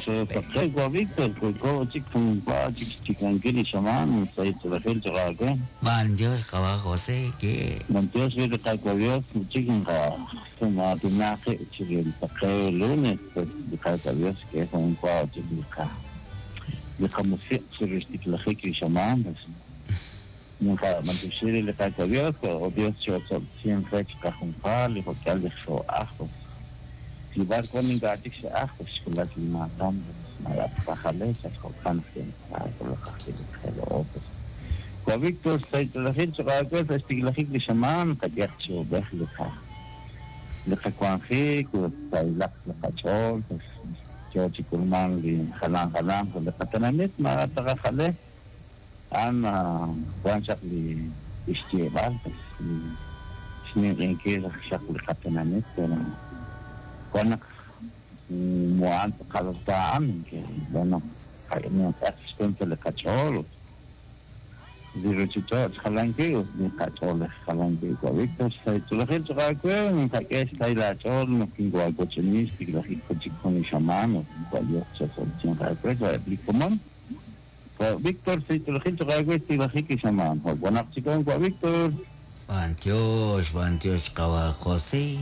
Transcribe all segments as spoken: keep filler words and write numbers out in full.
Xo Víctor, Van Dios, Jabá José, que Dios, Dios, lunes, Dios, que es un Dios, Víctor, Muan kaltaan que bueno no le cacholo diruchito jalanque ni cacholo jalanque Víctor sai tu la gente que no que está la chol no tengo algo chenis la gente con chamano cual yo se son Víctor sai tu la gente que la gente chamano bueno chico Víctor Pantios Pantios kawa José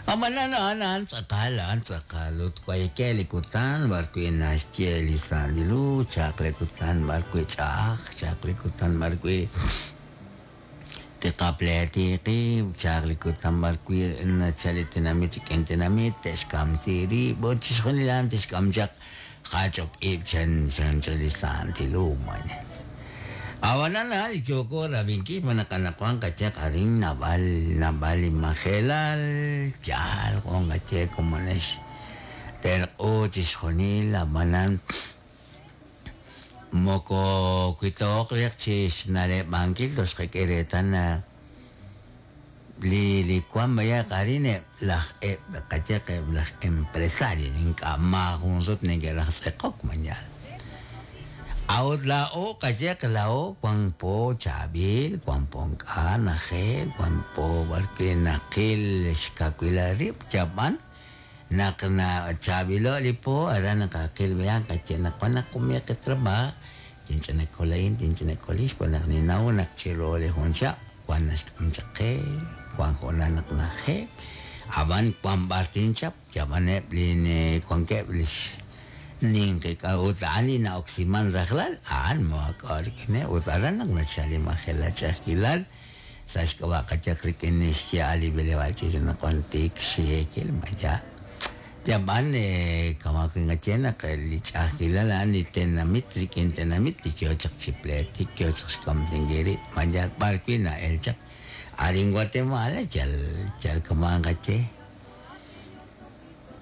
Amanana anan tzakal an tzakalut kwaykel ikutan barkui naxtiel isandilu chakle kutan barkui chaj chakle kutan barkui tiqapletiqi chakle kutan barkui nachalitinamit chikintinamit texkamsiri bochixjunilan texkamchaq qachok ib chan chan chalisandilu man Awanana yoko rabinki manakanakuan kachak arin nabal nabal majelal chal con gache como nes ter ochishonil amanan moko kuitok chis nale bankil dos keretan li li kuan vaya karine las kachak las empresario inka ma junzot nege las ekok mañana Aot la o kachek la o cuan po chabil cuan ponka naje cuan po barque nakil xkakuilarip chapan nak na chabilo lipo ara nakakil bayan kache nakwana kumia ke trabajo tinchana kolain tinchana kolish cuan ninau nak chiro le honcha cuan naxkamchaqe cuan jona nak naje aban cuan bartinchap chaban line cuan keblish ninke ka utani na oximan raglal an mo akarkine utaran nag nachali mahela chakilal sashka kachakrikin ali belevalchi na kontik shekel maya yaban kamakin gachena ka lichakilal an tenamit rikin tenamit kyochak chipleti kyochak kamtingiri maya parquina elchak arin Guatemala chal chal kamangache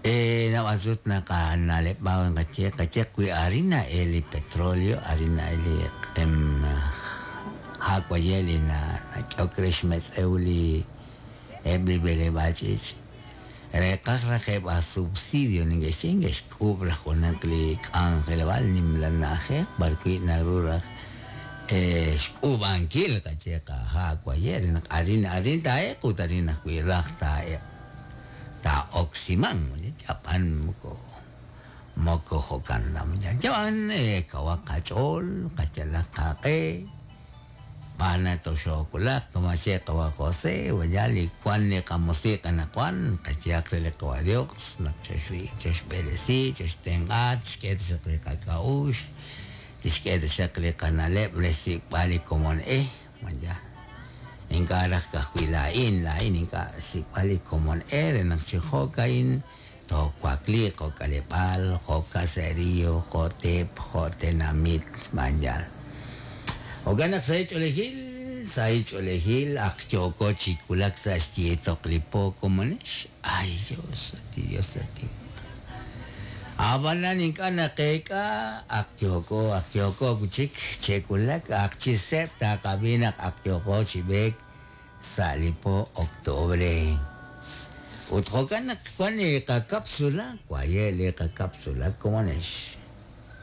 Eh, nawasut na ka nalep bawang kache kache kui arina eli petróleo arina eli em hakwayeli na na kyokresh euli ebli bele bachich rekaj rajeb a subsidio ningeshingesh kubra jonakli angelval nimlanaje barqui naruraj eh xkubankil kache ka hakwayeli na arina arina tae kutarina kui rajta ta oximan japan moko moko hokan lam japan eh kawakachol kachalakake pana to shokula kamache kawa José wayali kwan ni kamusika na kwan kachiak le kawa Dios nakcheshri cheshbelesi cheshtengat shket shakle kakaush tishket shakle kanalep lesi bali komon eh manja inka kahuilain lain inka sipali komon ere nakchihokain to kuakli kokalepal jokaserio jotep jotenamit manjal oganak sa echolejil sa echolejil akchoko chikulak sa xtietoklipo komonesh ay Dios ti Dios ti Abanan inka nakeka akyoko akyoko kuchik chekulak akchisep takabinak akyoko chibek salipo octubre utjokan kwani ka cápsula kwayele ka cápsula komonesh